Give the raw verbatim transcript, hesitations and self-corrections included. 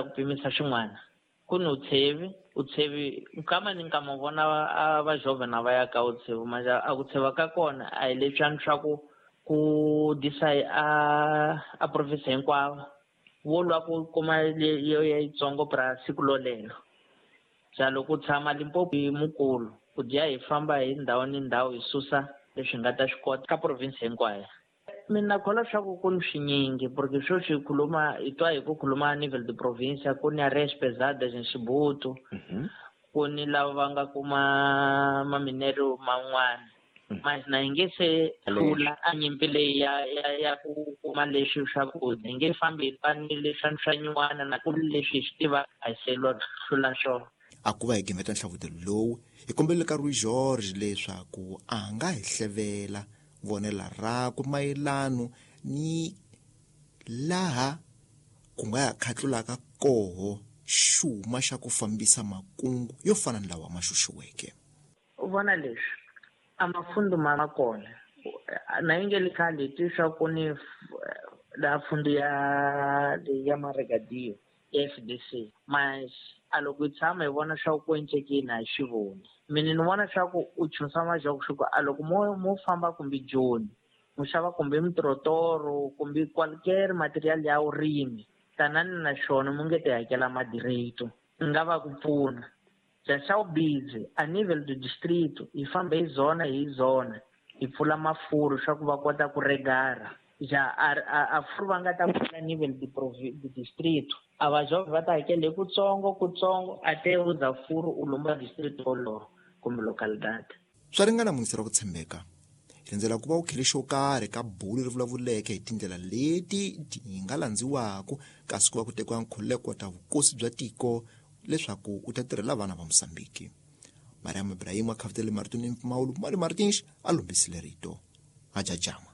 kota ku pimisa swin'wana. Ku ni utshevi, utshevi nkama ni nkama vona a va jovha na va ya ka utshevi, manje a ku tsheva ka kona a hi leswiya swa ku ku disa a a province hinkwawo. Vo lwa ku kuma leyo ya yitsongo pra siku lolelo. Ja loko u tshama Limpopo hi mukulu, ku dya hi famba hi ndhawu ni ndhawu hi susa leswi nga ta swi kota ka province hinkwayo. Mina kholwa swa ku ku ni swinyingi, porque sweswi hi khuluma hi twa hi ku khuluma nivel de province, ku ni areas pesadas in Xibutu, ku ni lava va nga kuma maminero man'wana. Mas na hi nge se hlula a nyimpi leyi ya, ya, ya ku kuma leswi swakudya. Hi nge fambi hi twa ni leswi swa nyuwana na ku leswi hi swi tiva a hi se lwa hlula swona. A ku va hi gimeta nhlavutelo lowu, hi kombelele ka Rui George leswaku a nga hi hlevela vonela rakwe mayelano ni laha ku nga ya khatlulaka koho xuma xa ku fambisa makungu yo fana ni lawa ma xuxiweke. U vona leswi a mafundu ma kona na yi nge le khale hi twi swa ku ni la fundu ya ya Maragadio ya F D C, mas a loko hi tshama hi vona swa ku encekini a hi swi voni. Mina ni vona swa ku u chunsa majoko swa ku a loko mo, mo famba kumbe Joni, mo xava kumbe mitrotoro kumbe qualquer material ya vurimi, tanani na xona mo nge ti hakela madireto, ni nga va ku pfuna. Ja xa vubizi a nível do distrito hi famba hi zona hi zona hi pfula mafuru swa ku va kota ku regara. Ja a, a, a furu va nga ta pfula nível de provi-, de distrito, a va jovha va ta hakela hi kutsongo kutsongo a te u za furu u lomba distrito wolowo kumbe localidade. Swa ringana muyingiseri wa ku tshembeka, hi rindzela ku va u khele xo karhi ka bulu ri vulavuleke hi tindlela leti ti nga landziwaka kasi ku va ku tekiwa nkhululeko ta vukosi bya tiko leswaku u ta tirhela vana va Mozambique. Mariam Ibrahim a khavutele marito ni mpfumawulo, Mali Martins a lombisile rito. Ajajama.